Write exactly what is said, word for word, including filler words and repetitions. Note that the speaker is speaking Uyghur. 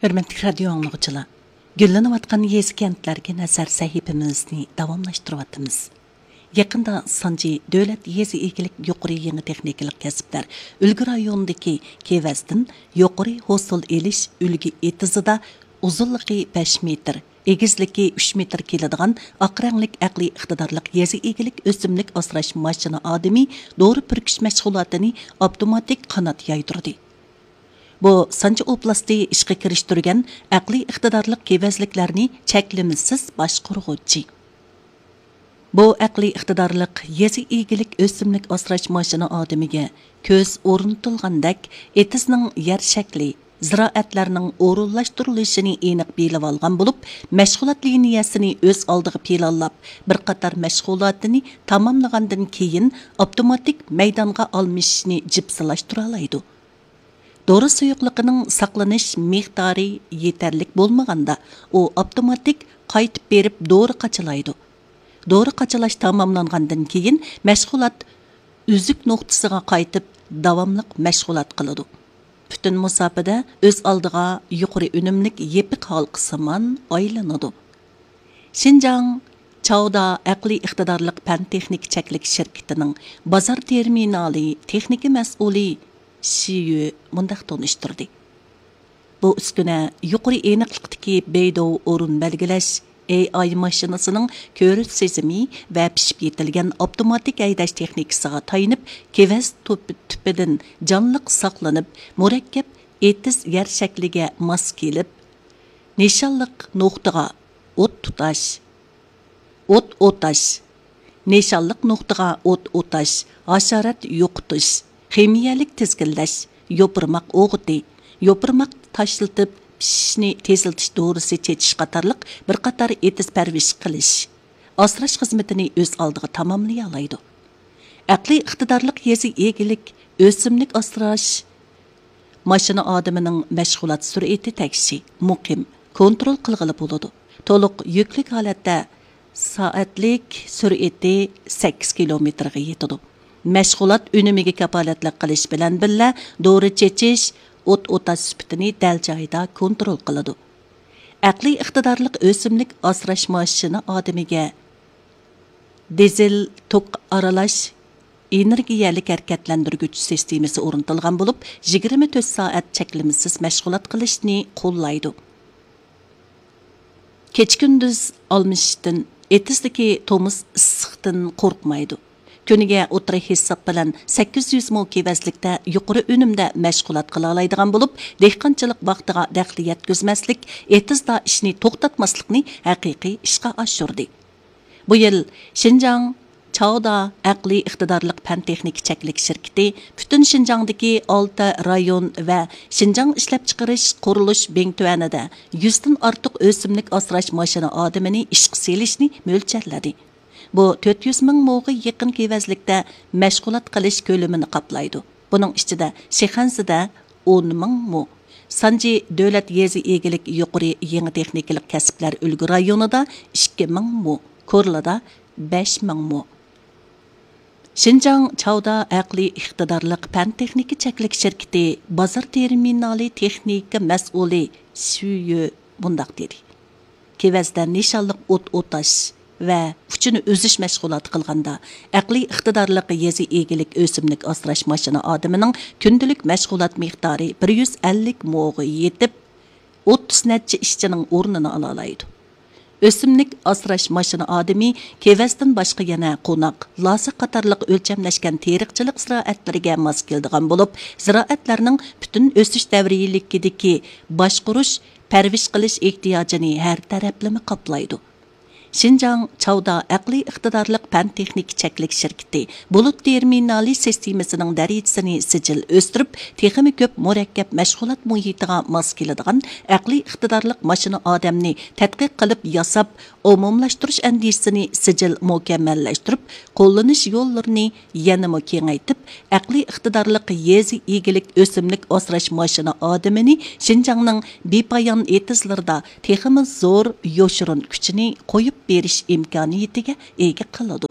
ھۆرمەتلىك رادىيو ئاڭلىغۇچىلار، گۈللىنىۋاتقان يېزا كەنتلەرگە نەزەر سەھىپىمىزنى داۋاملاشتۇرۇۋاتىمىز. يېقىندا سانجى دۆلەت يېزا ئىگىلىك يۇقىرى يېڭى تېخنىكىلىق كەسىپلەر ئۈلگە رايونىدىكى كېۋەزدىن يۇقىرى ھوسۇل ئېلىش ئۈلگە ئېتىزىدا ئۇزۇنلۇقى بەش مېتىر، ئېگىزلىكى ئۈچ مېتىر كېلىدىغان ئاق رەڭلىك ئەقلىي ئىقتىدارلىق يېزا ئىگىلىك ئۆسۈملۈك ئاسراش ماشىنا ئادىمى دورا پۈركۈش مەشغۇلاتىنى ئاپتوماتىك قانات يايدۇردى. بۇ سانجى ئوبلاستى ئىشقا كىرىشتۈرگەن ئەقلىي ئىقتىدارلىق كېۋەزلىكلەرنى چەكلىمىسىز باشقۇرغۇچى. بۇ ئەقلىي ئىقتىدارلىق يېزا ئىگىلىك ئۆسۈملۈك ئاسراش ماشىنا ئادىمىگە كۆز ئورنىتىلغاندەك، ئېتىزنىڭ يەر شەكلى، زىرائەتلەرنىڭ ئورۇنلاشتۇرۇلۇشىنى ئېنىق بىلىۋالغان بولۇپ، مەشغۇلات لىنىيەسىنى ئۆز ئالدىغا پىلانلاپ، بىر قاتار مەشغۇلاتىنى تاماملىغاندىن كېيىن، ئاپتوماتىك مەيدانغا ئالمىشىشنى جىپسىلاشتۇرالايدۇ. دورا سۇيۇقلۇقىنىڭ ساقلىنىش مىقدارى يېتەرلىك بولمىغاندا، ئۇ ئاپتوماتىك قايتىپ بېرىپ دورا قاچىلايدۇ. دورا قاچىلاش تاماملانغاندىن كېيىن، مەشغۇلات ئۈزۈك نۇقتىسىغا قايتىپ، داۋاملىق مەشغۇلات قىلىدۇ. پۈتۈن مۇساپىدە ئۆز ئالدىغا يۇقىرى ئۈنۈملۈك يېپىق ھالقىسىمان ئايلىنىدۇ. شىنجاڭ چاۋدا ئەقلىي ئىقتىدارلىق پەن تېخنىكا چەكلىك شىركىتىنىڭ بازار تېرمىنالى تېخنىكا مەسئۇلى شى يۈ مۇنداق تونۇشتۇردى. بۇ ئۈسكۈنە يۇقىرى ئېنىقلىقتىكى بېيدوۋ ئورۇن بەلگىلەش، ئېي ئاي ماشىنىسىنىڭ كۆرۈش سېزىمى ۋە پىشىپ يېتىلگەن ئاپتوماتىك ھەيدەش تېخنىكىسىغا تايىنىپ، كېۋەز تۈپ-، تۈپىدىن جانلىق ساقلىنىپ، مۇرەككەپ ئېتىز يەر شەكلىگە ماس كېلىپ، نىشانلىق نۇقتىغا ئوت تۇتاش، ئوت ئوتاش، نىشانلىق نۇقتىغا ئوت ئوتاش، ھاشارات يوقىتىش، خىمىيەلىك تىزگىنلەش، يوپۇرماق ئوغۇتى، يوپۇرماق تاشلىتىپ پىشىشنى تېزلىتىش دورىسى چېچىش قاتارلىق بىر قاتار ئېتىز پەرۋىش قىلىش، ئاسراش خىزمىتىنى ئۆز ئالدىغا تاماملىيالايدۇ. ئەقلىي ئىقتىدارلىق يېزا ئىگىلىك ئۆسۈملۈك ئاسراش ماشىنا ئادىمىنىڭ مەشغۇلات سۈرئىتى تەكشى، مۇقىم، كونترول قىلغىلى بولىدۇ. تولۇق يۈكلۈك ھالەتتە سائەتلىك سۈرئىتى سەككىز كىلومېتىرغا يېتىدۇ. مەشغۇلات ئۈنۈمىگە كاپالەتلىك قىلىش بىلەن بىللە، دورا چېچىش، ئوت ئوتاش سۈپىتىنى دەل جايىدا كونترول قىلىدۇ. ئەقلىي ئىقتىدارلىق ئۆسۈملۈك ئاسراش ماشىنا ئادىمىگە دىزېل توك ئارىلاش ئېنېرگىيەلىك ھەرىكەتلەندۈرگۈچ سىستېمىسى ئورنىتىلغان بولۇپ، يىگىرمە تۆت سائەت چەكلىمىسىز مەشغۇلات قىلىشنى قوللايدۇ. كېچە-كۈندۈز ئالمىشىشتىن، ئېتىزدىكى تومۇز ئىسسىقتىن قورقمايدۇ. كۈنىگە ئوتتۇرا ھېساب بىلەن سەككىز يۈز مو كېۋەزلىكتە يۇقىرى ئۈنۈمدە مەشغۇلات قىلالايدىغان بولۇپ، دېھقانچىلىق ۋاقتىغا دەخلى يەتكۈزمەسلىك، ئېتىزدا ئىشنى توختاتماسلىقنى ھەقىقىي ئىشقا ئاشۇردى. بۇ يىل شىنجاڭ چاۋدا ئەقلىي ئىقتىدارلىق پەن تېخنىكا چەكلىك شىركىتى پۈتۈن شىنجاڭدىكى ئالتە رايون ۋە شىنجاڭ ئىشلەپچىقىرىش قۇرۇلۇش بىڭتۈەنىدە يۈزدىن ئارتۇق ئۆسۈملۈك ئاسراش ماشىنا ئادىمىنى ئىشقا سېلىشنى مۆلچەرلىدى. بۇ تۆت يۈز مىڭ موغا يېقىن كېۋەزلىكتە مەشغۇلات قىلىش كۆلىمىنى قاپلايدۇ. بۇنىڭ ئىچىدە شىخەنزىدە ئون مىڭ مو، سانجى دۆلەت يېزا ئىگىلىك يۇقىرى يېڭى تېخنىكىلىق كەسىپلەر ئۈلگە رايونىدا ئىككى مىڭ مو، كورلىدا بەش مىڭ مو. شىنجاڭ چاۋدا ئەقلىي ئىقتىدارلىق پەن تېخنىكا چەكلىك شىركىتى بازار تېرمىنالى تېخنىكا مەسئۇلى شۈيۈ مۇنداق دېدى. كېۋەزدە نىشانلىق ئوت ئوتاش ۋە ئۇچىنى ئۈزۈش مەشغۇلاتى قىلغاندا، ئەقلىي ئىقتىدارلىق يېزا ئىگىلىك ئۆسۈملۈك ئاسراش ماشىنا ئادىمىنىڭ كۈندىلىك مەشغۇلات مىقدارى بىر يۈز ئەللىك موغا يېتىپ، ئوتتۇز نەچچە ئىشچىنىڭ ئورنىنى ئالالايدۇ. ئۆسۈملۈك ئاسراش ماشىنا ئادىمى كېۋەزدىن باشقا يەنە قوناق، لاسا قاتارلىق ئۆلچەملەشكەن تېرىقچىلىق زىرائەتلىرىگە ماس كېلىدىغان بولۇپ، زىرائەتلەرنىڭ پۈتۈن ئۆسۈش دەۋرىيلىكىدىكى باشقۇرۇش، پەرۋىش قىلىش ئېھتىياجىنى ھەر تەرەپلىمە قاپلايدۇ. شىنجاڭ چاۋدا ئەقلىي ئىقتىدارلىق پەن تېخنىكا چەكلىك شىركىتى بۇلۇت تېرمىنالى سىستېمىسىنىڭ دەرىجىسىنى سىجىل ئۆستۈرۈپ، تېخىمۇ كۆپ مۇرەككەپ مەشغۇلات مۇھىتىغا ماس كېلىدىغان ئەقلىي ئىقتىدارلىق ماشىنا ئادەمنى تەتقىق قىلىپ ياساپ، ئومۇملاشتۇرۇش ئەندىزىسىنى سىجىل مۇكەممەللەشتۈرۈپ، قوللىنىش يوللىرىنى يەنىمۇ كېڭەيتىپ، ئەقلىي ئىقتىدارلىق يېزا ئىگىلىك ئۆسۈملۈك ئاسراش ماشىنا ئادىمىنى شىنجاڭنىڭ بىپايان ئېتىزلىرىدا تېخىمۇ زور يوشۇرۇن كۈچىنى قويۇپ بېرىش ئىمكانىيىتىگە ئىگە قىلىدۇ.